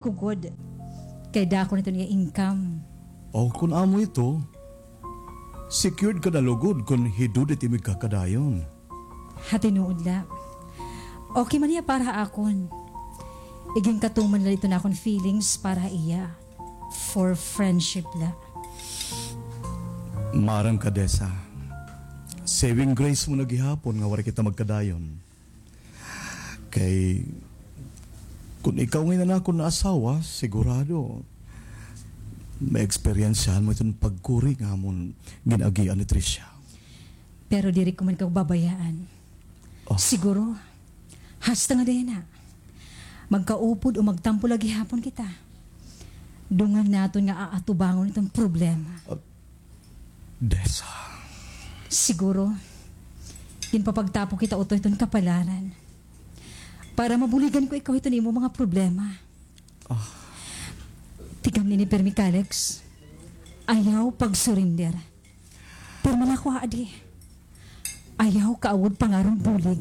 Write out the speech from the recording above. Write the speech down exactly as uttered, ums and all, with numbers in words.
Kugod. Kay dako na iton iya income. O, kon amo ito, secured ka na lugod kon hidud it imo igkakadayon. Ha tinuod la. Okay man hiya para ha akon. Iginkatuman la iton akon feelings para ha iya. For friendship la. Maaram ka, Dessa. Saving grace mo na gihapon nga waray kita magkadayon. Kay, kon ikaw ngay-an an akon naasawa, sigurado, maeksperiensyahan mo iton pagkuri nga amon gin-agian ni Tricia. Pero diri ko man ikaw babayaan. Oh. Siguro, hasta nga dayon na. Magkaupod o magtampo la gihapon kita. Dungan naton nga aatubangon iton problema. Ah, Dessa. Siguro, ginpapagtapok kita utoy hiton kapalaran. Para mabuligan ko ikaw hiton imo mga problema. Ah. Tikang nini pirmi, Kalex. Ayaw pag-surrender. Pirmi la ako, adi. Ayaw kaawod pangaron bulig.